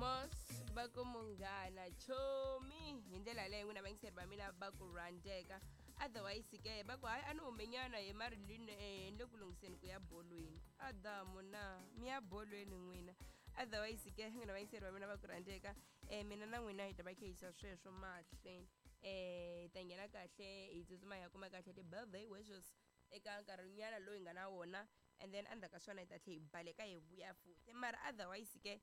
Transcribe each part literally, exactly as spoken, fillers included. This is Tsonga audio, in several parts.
Mos va ku munghana chomi hi ndlela leyo n'wina vayingiseri va mina va ku rhandzeka. Otherwise ke va ku hayi a ni humenyana hi Marilyn, eh, ni le ku lunghiseni ku ya bolweni. Adamu na mi ya bolweni n'wina. Otherwise ke n'wina vayingiseri va mina va ku rhandzeka, um mina na n'wina hi ta va khehisa sweswo mahlweni, um hi ta nghena kahle hi tsutsuma hi ya kuma kahle ti-birthday wishes eka nkarhinyana lowu hi nga na wona, and then endzhaku ka swona hi ta tlhe hi baleka hi vuya futhi. Mara otherwise ke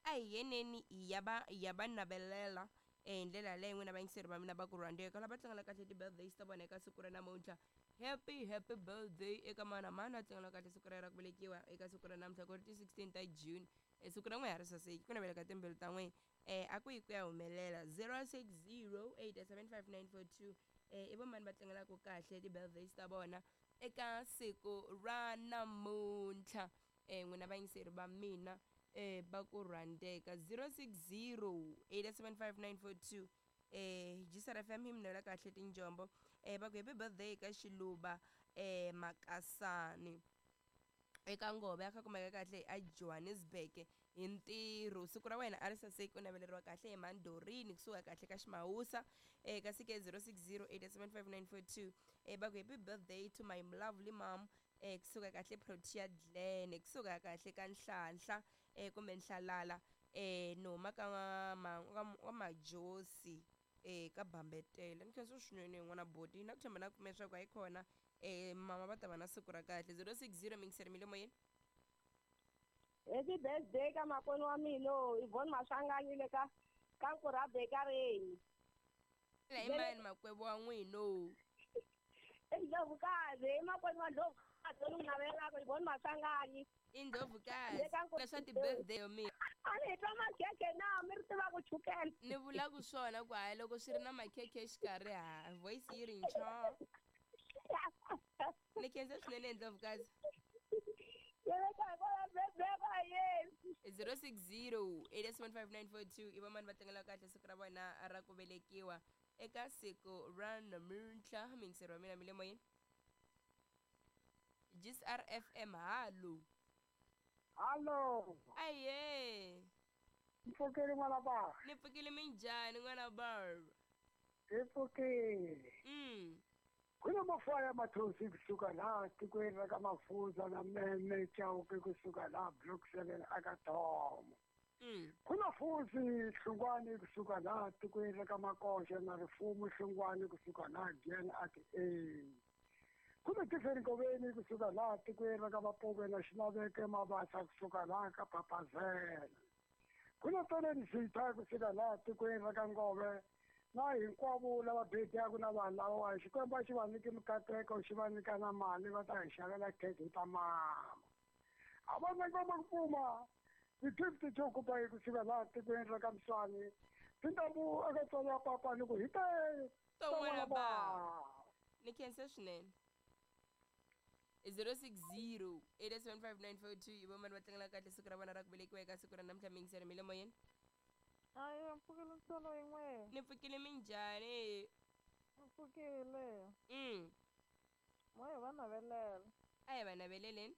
a hi yeneni hi ya va hi ya va navelela eh, hi ndlela yaleyo n'wina vayingiseri va mina va ku rhandzeka lava tlangela kahle ti-birthdays ta vona eka siku ra namuntlha. Happy happy birthday eka mana mani a tlangela kahle siku ra ra ku velekiwa eka siku ra namuntlha, ku ri ti sixteen ta June. E siku ra n'we ha ri saseki, ku navela ka timbilu ta n'we eh a ku yi ku ya humelela. zero six zero eight seven five nine four two, eh i vomani va tlangelaka kahle ti-birthdays ta vona eka siku ra namuntlha, eh n'wina vayingiseri va mina eh va ku rhandzeka? zero six zero eight seven five nine four two. eh G S R F M hi mi navela kahle tinjombo. eh va ku happy birthday ka Xiluva eh Makasani eka Ngove ya kha kumeka kahle a Johannesburg hi ntirho. Siku ra wena a ri saseki, u naveleriwa kahle hi Mandorini kusuka kahle ka Ximawusa. eh kasi ke zero six zero eight seven five nine four two, eh va ku happy birthday to my lovely mom, eh kusuka kahle Protea Glen, kusuka kahle ka Nhlanhla eh kumbe Nhlalala, eh ni huma ka ma ka Majosi, eh ka Bambetela. Ni khensa swinene n'wana boti na ku tshemba na kume leswaku hayi khona eh mama va ta va na siku ra kahle. zero six zero, mingiseri mi le moyeni. Happy birthday ka makwenu wa mina Yvonne Maswanganyi le ka ka Nkurha Bakery. La i mani makwebo wa n'wino? I Ndlovukazi, i makwenu wa Ndlovukazi loyi n'wi navelaka, Yvonne Maswanganyi. I Ndlovukazi. Le ka Nkurha. Leswa ti-birthday yo mina. A ni hi twa makhekhe na mi ri tiva ku chukela. Ni vulaku swona ku hayi loko swi ri na makhekhe exikarhi, ha voice yi ri ncho. Ni khensa swinene, Ndlovukazi. Yele ka birthday ka yena. zero six zero eight seven five nine four two, i vamani va tlangela kahle siku ra vona ra ku velekiwa eka siku ra namuntlha? Mingiseri wa mina mi le moyeni, G S R F M, halo. Hallo. Aye. Mpfukile n'wana ba. Ni pfukile, minjhani n'wana bar? Hi pfukile. mm Ku na mafaya mathosi kusuka laha tikweni ra ka Mafuza na Meme Chauke kusuka laha Block seven aka Thomo. mm Ku na Fuzi Hlungwani kusuka laha tikweni ra ka Makoxa na Rifumo Hlungwani kusuka laha Giyani ati A. Ku na Tiffany Ngoveni kusuka laha tikweni ra ka Mapuve na Xilaveke Mabasa kusuka laha ka Papazela. Ku na Toleni Zitha kusuka laha tikweni ra ka Ngove na hinkwavo lava bedaku na vanhu lavawa. Xikwembu a xi va nyiki mikateko, xi va nyika na mali, va ta hi xavela khekhe hi ta mama. A va na ngoma ku pfuma ti-fifty to kupa hi kusuka laha tikweni ra ka Mswani tintambu eka tswalo wa papa ni ku hi te. To n'wana ba. Ni khensa swinene. zero six zero eight seven five nine four two, i vomani va tlangela kahle siku ra vona ra ku velekiwa eka siku ra namuntlha? Mingiseri mi le moyeni. Hayi, mpfukile ntsolo yin'we. Ni pfukile, minjhani? Mpfukile. mm Moya va navelela. A hi va naveleleni.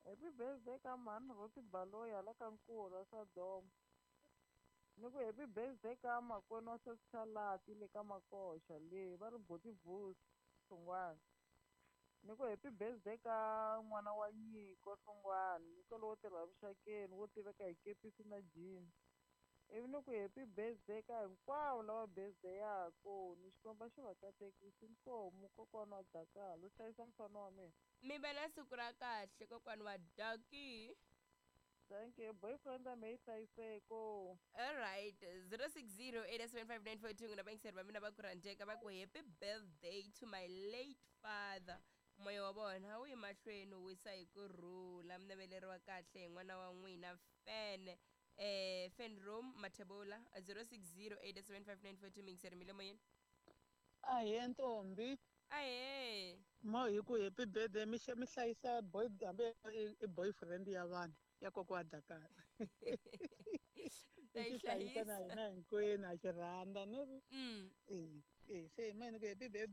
Happy birthday ka mhani Roti Baloyi hala ka Nkurha Sodoma. Ni ku happy birthday ka makwenu wa Sesichalati le ka Makoxa le va ri Boti Vusi Hlungwani. Ni ku happy birthday ka n'wana wa Nyiko Hlungwani, Nyiko lowo tirha vuxakeni wo tiveka hi kepisi na jean. Ivi ni ku happy birthday ka hinkwavo lava birthday yaku, ni Xikwembu xi va katekisi. Inkomu, kokwana wa Dakalo hlayisa mfana wa mina. Mi va na siku ra kahle, kokwani wa Daki. Thank you, boyfriend ya me yi hlayiseko. Alright, zero six zero eight seven five nine four two, n'wina vayingiseri va mina va ku rhandzeka, va ku happy birthday to my late father. Moya wa vona wu yi mahlweni wu wisa hi ku rhula. Mi naveleriwa kahle hi n'wana wa n'wina Fan eh Fan Room Mathebula. zero six zero eight seven five nine four two, mingiseri mi le moyeni. Ahee ntombi. Ahee. Mo hi ku happy birthday, mi mi hlayisa boy hambi i boyfriend ya vanhu ya kokwa Dakar. Ta yi xi hlayisa na hlayisa. Hina hinkwenu ha xi rhandza ni ri mm eh eh se mina ku happy birthday.